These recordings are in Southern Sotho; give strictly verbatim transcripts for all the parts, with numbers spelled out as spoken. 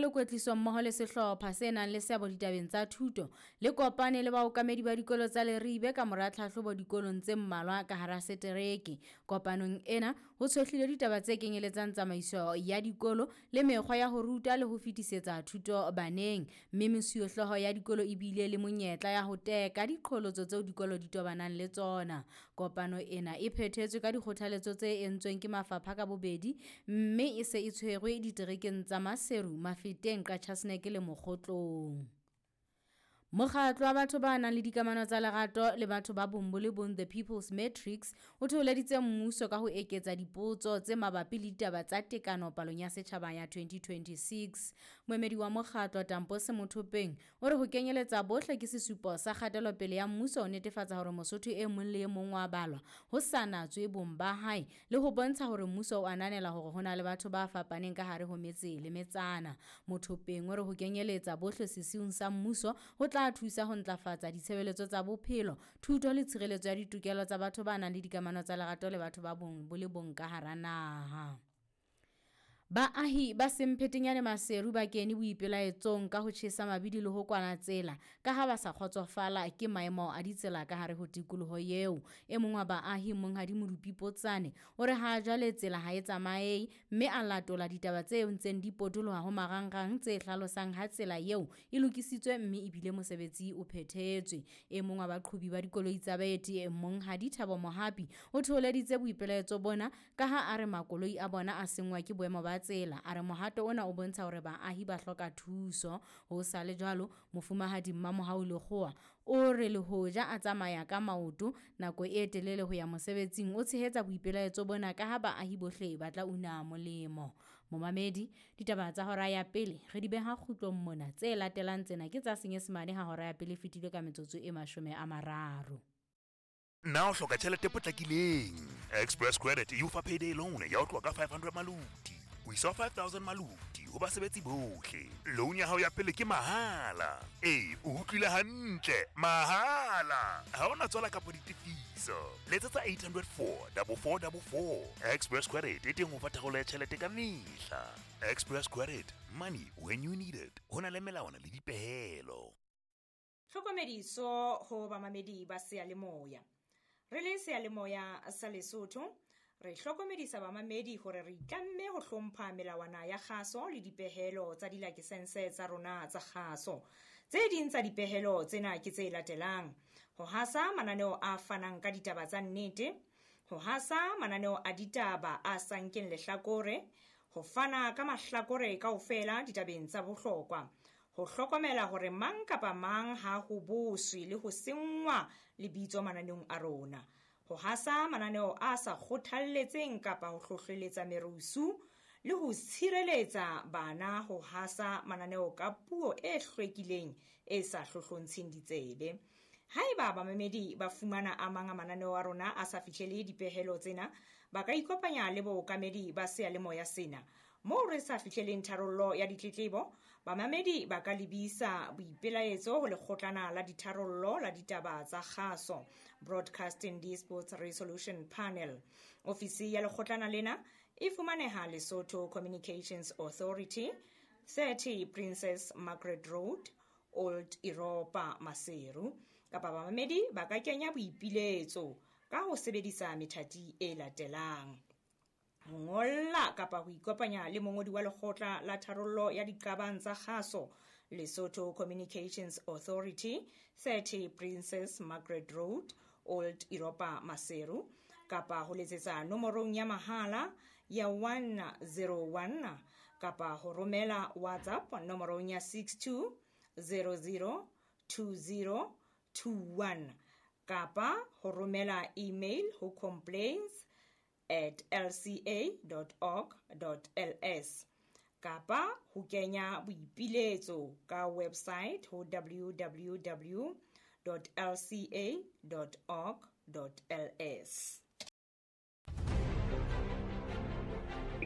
Le kwetliso mmoho le sehlopha se nang le seabo ditabeng tsa thuto le kopane le baokamedi ba dikolo tsa Leribe ka mora tlhahlobo dikolong tse mmalwa ka hara setereke. Kopanong ena ho tshohlilwe ditaba tse kenyeletsang tsamaiso ya dikolo le mekgwa ya ho ruta le ho fetisetsa thuto baneng, mme mesuwehlooho ya dikolo e bile le monyetla ya ho teka diqholotso tseo dikolo di tobanang le tsona. Kopano ena e phethetswe ka dikgothaletso tse entsweng ke mafapha ka bobedi, mme e se e tshwerwe diterekeng tsa Maseru, Mafeteng, Qacha's Nek le Mokhotlong. Mokgatlo wa batho ba nang le dikamano tsa lerato le batho ba bong bo le bong, The People's Matrix, o thoholeditse mmuso ka ho eketsa dipotso tse mabapi le ditaba tsa tekano palong ya setjhaba ya twenty twenty-six. Moemedi wa mokgatlo Tampo Semothopeng o re ho kenyeletsa bohle ke sesupo sa kgatelopele ya mmuso ho netefatsa hore Mosotho e mong le e mong wa balwa ho sa natswe bong ba hae, le ho bontsha hore mmuso o ananela hore ho na le batho ba fapaneng ka hare ho metse le metsana. Mothopeng o re ho kenyeletsa bohle sesiung sa mmuso ho tla thusa ho ntlafatsa ditshebeletso tsa bophelo, thuto le tshireletso ya ditokelo tsa batho ba nang le dikamano tsa lerato le batho ba bong bo le bong ka hara naha. Baahi ba Semphetenyane Maseru ba kene boipelaetsong ka ho tjhesa mabidi le ho kwala tsela ka ha ba sa kgotsofala ke maemo a ditsela ka hare ho tikoloho eo. E mong wa baahi, Monghadi Modupi Potsane, o re ha jwale tsela ha e tsamaye, mme a latola ditaba tse ntseng di potoloha ho marangrang tse hlalosang ha tsela eo e lokisitswe mme ebile mosebetsi o phethetswe. E mong wa baqhobi ba dikoloi tsa baeti, Monghadi Thabo Mohapi, o thoholeditse boipelaetso bona ka ha a re makoloi a bona a senngwa ke boemo ba tsela. A re mohato ona o bontsha hore baahi ba hloka thuso. Ho sa le jwalo, Mofumahadi Mmamohau Lekgowa o re le hoja a tsamaya ka maoto nako e telele ho ya mosebetsing, o tshehetsa boipelaetso bona ka ha baahi bohle ba tla una molemo. Momamedi, ditaba tsa hora ya pele re di beha kgutlong mona. Tse latelang tsena ke tsa Senyesemane ha hora ya pele e fetile ka metsotso e mashome a mararo. Na o hloka tjhelete e potlakileng? Express Credit e o fa payday loan ya ho tloha ka five hundred maluti ho isa five thousand maluti ho basebetsi bohle. Loan ya hao ya pele ke mahala. Ee, o utlwile hantle, mahala. Ha ona tswala kapa ditefiso. Letsetsa eight hundred four double four double four. Express Credit e teng ho fa tharollo ya tjhelete ka mehla. Express Credit, money when you need it. Ho na le melawana le dipehelo. Tlhokomediso ho bamamedi ba seyalemoya. Re le seyalemoya sa Lesotho, re hlokomedisa bamamedi hore re itlamme ho hlompha melawana ya kgaso le dipehelo tsa dilakesense tsa rona tsa kgaso. Tse ding tsa dipehelo tsena ke tse latelang: ho hasa mananeo a fanang ka ditaba tsa nnete, ho hasa mananeo a ditaba a sa nkeng lehlakore, ho fana ka mahlakore kaofela ditabeng tsa bohlokwa, ho hlokomela hore mang kapa mang ha ho boswe le ho senngwa lebitso mananeong a rona, ho hasa mananeo a sa kgothalletseng kapa ho hlohleletsa merusu, le ho tshireletsa bana ho hasa mananeo ka puo e hlwekileng e sa hlohlontsheng ditsebe. Haeba bamamedi ba fumana a mang a mananeo a rona a sa fihlele dipehelo tsena, ba ka ikopanya le bookamedi ba seyalemoya sena. Moo re sa fihleleng tharollo ya ditletlebo, bamamedi ba ka lebisa boipelaetso ho lekgotlana la ditharollo la ditaba tsa kgaso, Broadcasting Disputes Resolution Panel. Ofisi ya lekgotlana lena e fumaneha Lesotho Communications Authority, thirty Princess Margaret Road, Old Europa, Maseru. Kapa bamamedi ba ka kenya boipiletso ka ho sebedisa methati e latelang: ho ngolla kapa ho ikopanya le mongodi wa lekgotla la tharollo ya diqabang tsa kgaso, Lesotho Communications Authority, thirty Princess Margaret Road, Old Europa, Maseru, kapa ho letsetsa nomorong ya mahala ya one zero one, kapa ho romela WhatsApp nomorong ya six two zero zero two zero two one, kapa ho romela email ho complaints at l c a dot org dot l s, kapa ho kenya boipiletso ka website ho w w w dot l c a dot org dot l s.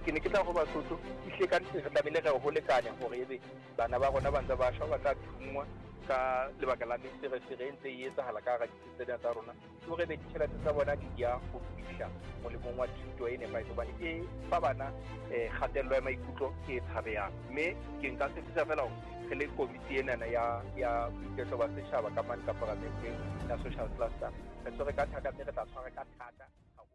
Ke ne ke tla ho Basotho, ehlile ka nnete re tlamehile re ho lekanya hore ebe bana ba rona ba ntse ba shwa, ba tla thungwa, ka lebaka la meferefere e ntse e etsahala ka hara ditsi tsena tsa rona, ke hore be ditjhelete tsa bona di ya ho fihla molemong wa thuto e nepahetseng, hobane e fa bana eh kgatello ya maikutlo e tshabehang. Mme ke nka tshepisa fela hore re le komiti enana ya ya boiketlo ba setjhaba ka mane ka paramenteng ya social cluster, re tshwere ka thata mme re tla tshwara ka thata haholo.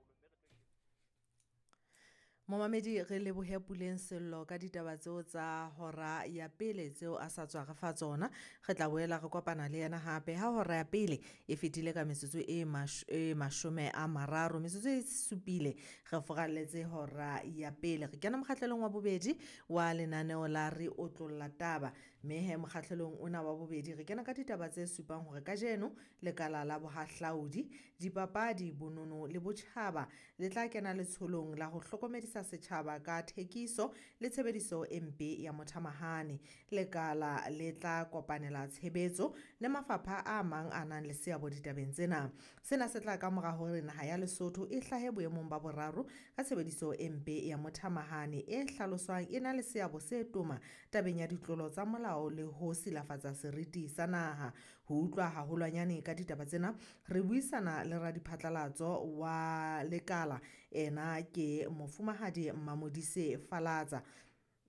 Momamedi, re lebohe Puleng Sello ka ditaba tseo tsa hora ya pele tseo a sa tswa re fa tsona. Re tla boela re kopana le yena hape ha hora ya pele e fetile ka metsotso e mash, e mashome a mararo, metsotso e supile re foralletse hora ya pele. Re kena mokgahlelong wa bobedi wa lenaneo la Re Otlolla Taba, mme he mokgahlelong ona wa bobedi re kena ka ditaba tse supang hore kajeno lekala la bohahlaudi, dipapadi, bonono le botjhaba le tla kena letsholong la ho hlokomedisa setjhaba ka thekiso le tshebediso e mpe ya mothamahane. Lekala le tla kopanela tshebetso le mafapha a mang a nang le seabo ditabeng tsena. Sena se tla ka mora hore naha ya Lesotho e hlahe boemong ba boraro ka tshebediso e mpe ya mothamahane e hlaloswang e na le seabo se toma tabeng ya ditlolo tsa molao le ho silafatsa seriti sa naha. Ho utlwa haholwanyane ka ditaba tsena, re buisana le radiphatlalatso wa lekala, ena ke mofumahadi Mamodise Falatsa,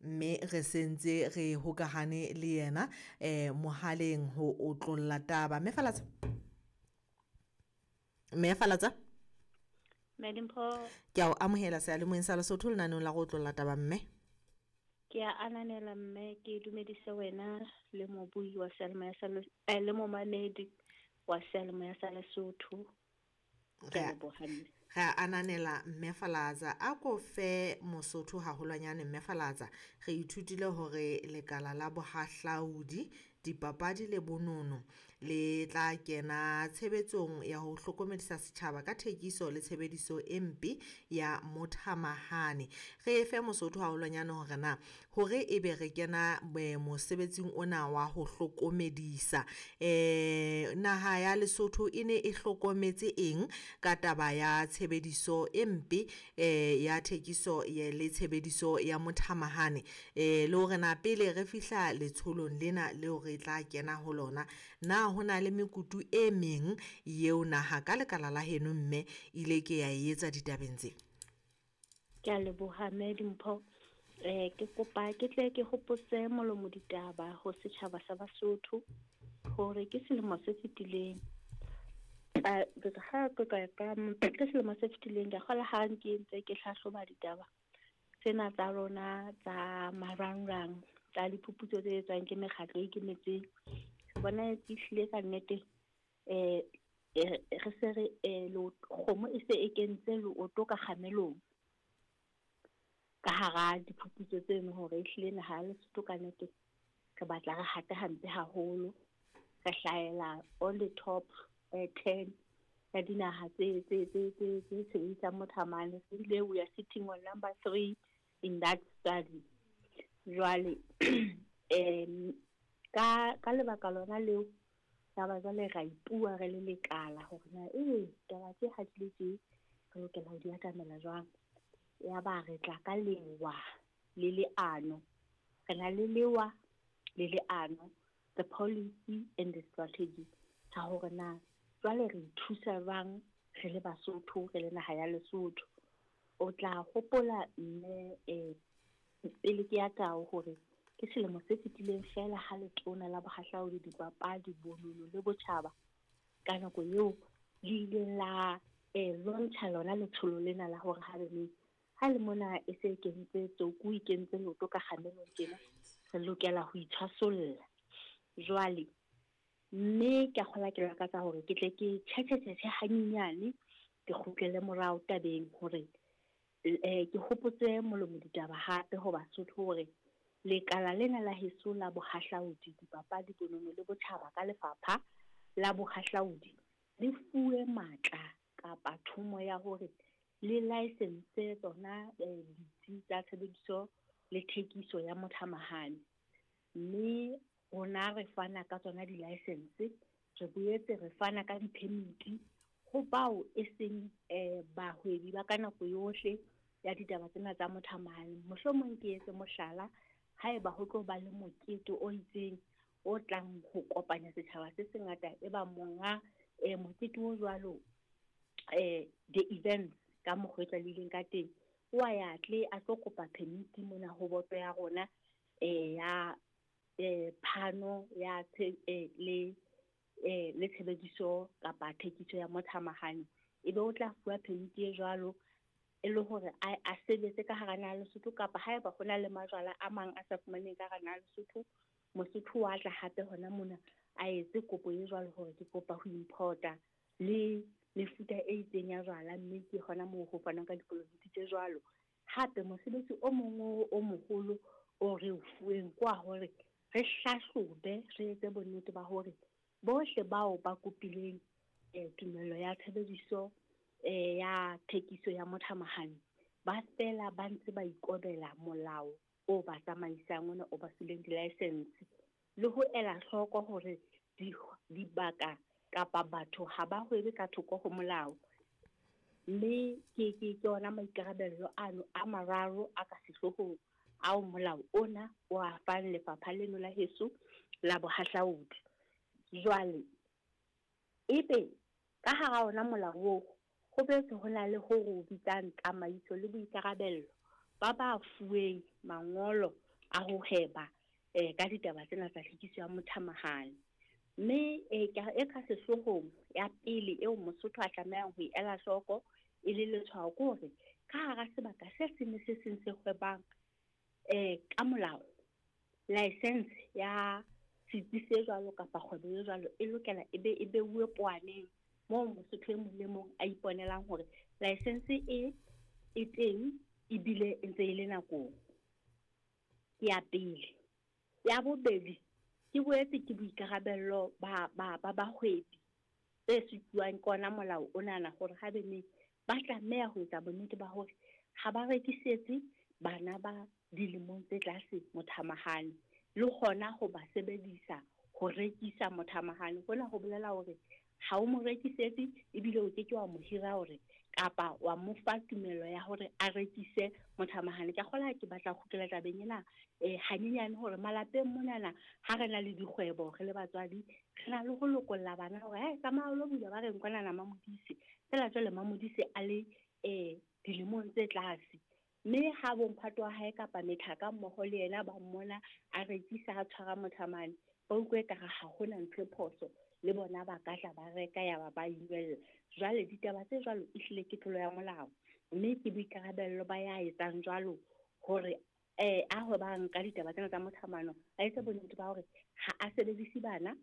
mme re sentse re hokahane le yena eh mohaleng ho otlolla taba. Mme Falatsa, mme Falatsa, Madimpho, ke a o amohela seyalemoyeng sa Lesotho lenaneong la go otlolla taba. Mme ke a ananela, mme ke dumedise wena le mobui wa seyalemoya sa eh, le momamedi wa seyalemoya sa Lesotho. Ke a leboha mme. Re a ananela mme Falatsa. A ko fe Mosotho haholwanyane mme Falatsa, re ithutile hore lekala la bohahlaudi, dipapadi le bonono le tla kena tshebetsong ya ho hlokomedisa setjhaba ka thekiso le tshebediso e mpe ya mothamahane. Re fe Mosotho haholwanyane hore na hore ebe re kena mosebetsing ona wa ho hlokomedisa, eh naha ya Lesotho e ne e hlokometse eng ka taba ya tshebediso e mpe eh ya thekiso le tshebediso ya mothamahane, eh le hore na pele re fihla letsholong lena leo re tla kena ho lona, na ho na le mekutu e meng yeo naha ka lekala la heno mme ile ke ya e etsa ditabeng tse? Ke a leboha mme Dimpho. Eh ke kopa ke tle ke hopotse molomo ditaba ho setjhaba sa Basotho hore ke selemo se fetileng, ha ke ka ke selemo se fetileng ke kgola ha ke ntse ke hlahloba ditaba tsena tsa rona tsa marangrang tsa diphuputso tse etswang ke mekgatlo e ikemetseng, bona e hlile ka nnete eh re se re kgomo e se e kentse leoto ka kgamelong ka hara diphuputso tseno, hore ehlile naha ya Lesotho ka nnete re batla re hata hampe haholo, re hlahela on the top ten ya dinaha tse tse tse tse tse sebedisang mothamane. Ebile we are sitting on number three in that study. Jwale um ka ka lebaka lona leo taba jwale ra ipua re le lekala hore na ee taba tse ha di le tje re lokela ho di atamela jwang. Ya ba re tla ka lewa le leano, re na le lewa le leano, the policy and the strategy tsa hore na jwale re ithusa jwang re le Basotho, re le naha ya Lesotho. O tla hopola mme eh pele ke ya tao hore ke selemo se fetileng fela ha letona la bohahlaudi, dipapadi, bonono le botjhaba ka nako eo le ile la eh launcha lona letsholo lena la hore ha be ha le mona e se kentse tsoku e kentse leoto ka kgamelong tjena, re lokela ho itshwasolla. Jwale mme ke a kgola ke lakatsa hore ke tle ke tjhetjhetjhe hanyenyane ke kgutlele morao tabeng hore eh ke hopotse molomo ditaba hape ho Basotho hore lekala lena la heso la bohahlaudi, dipapadi, bonono le botjhaba ka lefapha la bohahlaudi le fuwe matla kapa thomo ya hore le license tsona ditsi tsa tshebediso le thekiso ya mothamahane. Mme rona re fana ka tsona di-license, re boetse re fana ka di-permit ho bao e seng eh bahwebi ba ka nako yohle ya ditaba tsena tsa mothamahane. Mohlomong ke etse mohlala, haeba ho tlo ba le mokete o itseng o tlang ho kopanya setjhaba se sengata e ba monga eh mokete o jwalo eh the events ka mokgwa e tlwaelehileng ka teng wa ya tle a tlo kopa permit mona ho boto ya rona eh ya eh phano ya le eh le tshebediso kapa thekiso ya mothamahane ebe o tla fuwa permit e jwalo e le hore a a sebetse ka hara naha Lesotho kapa haeba ho na le majwala a mang a sa fumaneng ka hara naha Lesotho Mosotho wa tla hape hona mona a etse kopo e jwalo hore ke kopa ho importa le mefuta e itseng ya jwala mme ke hona moo ho fanwang ka dikolobiti tse jwalo. Hape mosebetsi o mong o moholo o re o fuweng kwa hore re hlahlobe re etse bonnete ba hore bohle bao ba kopileng eh tumello ya tshebediso eh ya thekiso ya mothamahane ba fela ba ntse ba ikobela molao o ba tsamaisang ona o ba fileng di-license le ho ela hloko hore dibaka kapa batho ha ba hwebe ka thoko ho molao. Mme ke ke ke ona maikarabelo ano a mararo a ka sehloohong ao molao ona o a fang lefapha leno la heso la bohahlaudi. Jwale ebe ka hara ona molao oo ho boetse ho na le ho re bitsang tsamaiso le boikarabello ba ba fuweng mangolo a ho hweba eh ka ditaba tsena tsa tlhakiso ya mothamahane. Mme e ka e ka sehloohong ya pele eo Mosotho a tlamehang ho e ela hloko e le letshwao ke hore ka hara sebaka se seng le se seng se hwebang eh ka molao license ya setsi se jwalo kapa kgwebo e jwalo e lokela e be e beuwe poaneng moo Mosotho e mong le mong a iponelang hore license e e teng ebile e ntse e le nakong. Ke ya pele. Ya bobedi ke boetse ke boikarabello ba ba ba bahwebi tse sutuwang ke ona molao onana hore ha be ba tlameha ho etsa bonnete ba hore ha ba rekisetse bana ba dilemong tse tlase mothamahane le hona ho ba sebedisa ho rekisa mothamahane. Hona ho bolela hore ha o mo rekisetse ebile o ke ke wa mo hira hore kapa wa mo fa tumello ya hore a rekise mothamahane. Ke kgola ke batla ho kgutlela tabeng ena eh hanyenyane hore malapeng monana ha re na le dikgwebo re le batswadi re na le ho lokolla bana hore eh tsamaya o lo bula ba reng kwanana Mamodise fela jwale Mamodise a le eh dilemong tse tlase mme ha bomphato wa hae kapa methaka mmoho le yena ba mmona a rekisa a tshwara mothamane ba utlwe ekare ha hona ntho e phoso le bona ba ka tla ba reka ya ba ba inwella. Jwale ditaba tse jwalo ehlile ke tlolo ya molao mme ke boikarabello ba ya etsang jwalo hore eh a hwebang ka ditaba tsena tsa mothamano a etse bonnete ba hore ha a sebedise bana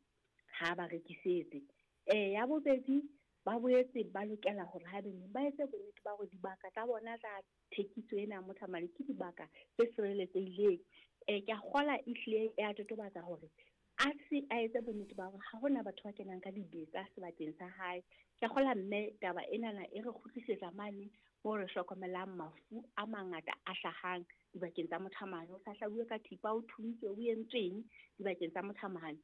ha ba rekisetse. Eh ya bobedi ba boetse ba lokela hore ha be ba etse bonnete ba hore dibaka tsa bona tsa thekiso ena ya mothamane ke dibaka tse sireletsehileng. Eh ke a kgola ehlile ya totobatsa hore a se a etse bonnete ba hore ha hona batho ba kenang ka dibetsa sebakeng sa hae. Ke kgola mme taba enana e re kgutlisetsa mane moo re hlokomelang mafu a mangata a hlahang dibakeng tsa mothamane. O sa hlabuwe ka thipa, o thuntswe, o entsweng dibakeng tsa mothamane.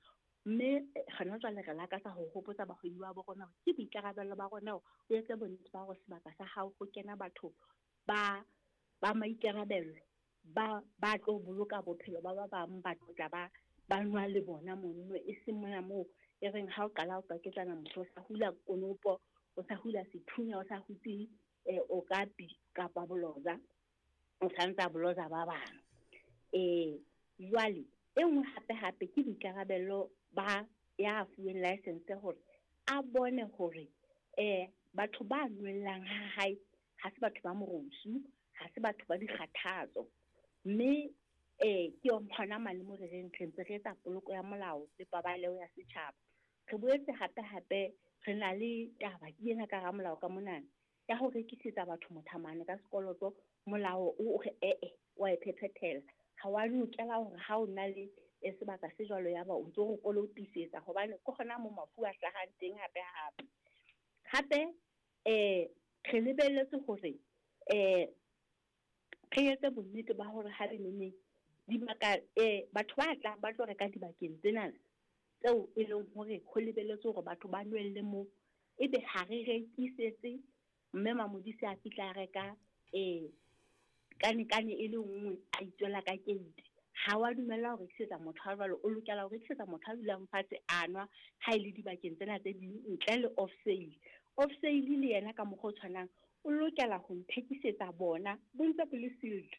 Mme hona jwale re lakatsa ho hopotsa bahwebi ba bo rona hore ke boikarabello ba rona hore o etse bonnete ba hore sebaka sa hao ho kena batho ba ba maikarabello ba ba tlo boloka bophelo ba ba bang ba tlo tla ba ba nwa le bona mono e seng mona moo e reng ha o qala o qaketsana motho o sa hula konopo o sa hula sethunya o sa hutse eh okapi kapa boloza o sa ntsa boloza ba bang. Eh jwale e nngwe hape hape ke boikarabello ba ya fuweng license hore a bone hore eh batho ba nwellang ha hae ha se batho ba morusu ha se batho ba dikgathatso mme eh ke hona mane mo re reng re ntse re etsa poloko ya molao le paballeho ya setjhaba. Re boetse hape hape re na le taba ke ena ka hara molao ka monana ya ho rekisetsa batho mothamane ka sekoloto. Molao o re ee wa e phephethela ha wa lokela hore ha o na le sebaka se jwalo ya ba o ntso o kolotisetsa hobane ke hona mo mafu a hlahang teng hape hape. Hape eh re lebelletse hore eh re etse bonnete ba hore ha re nene dibaka eh batho ba tlang ba tlo reka dibakeng tsena tseo e leng hore ho lebelletse hore batho ba nwelle moo ebe ha re rekisetse mme Mamodise a fihla reka eh kane kane e le nngwe a itswela ka keiti. Ha wa dumella ho rekisetsa motho a jwalo, o lokela ho rekisetsa motho a dulang fatshe a nwa ha e le dibakeng tsena tse ding ntle le off sale. Off sale le yena ka mokgwa o tshwanang o lokela ho nthekisetsa bona bo ntse bo le sealed.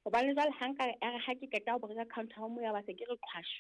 Hobane jwale ha nka re ha ke qeta ho bo reka counter mo ya ba se ke re qhwash.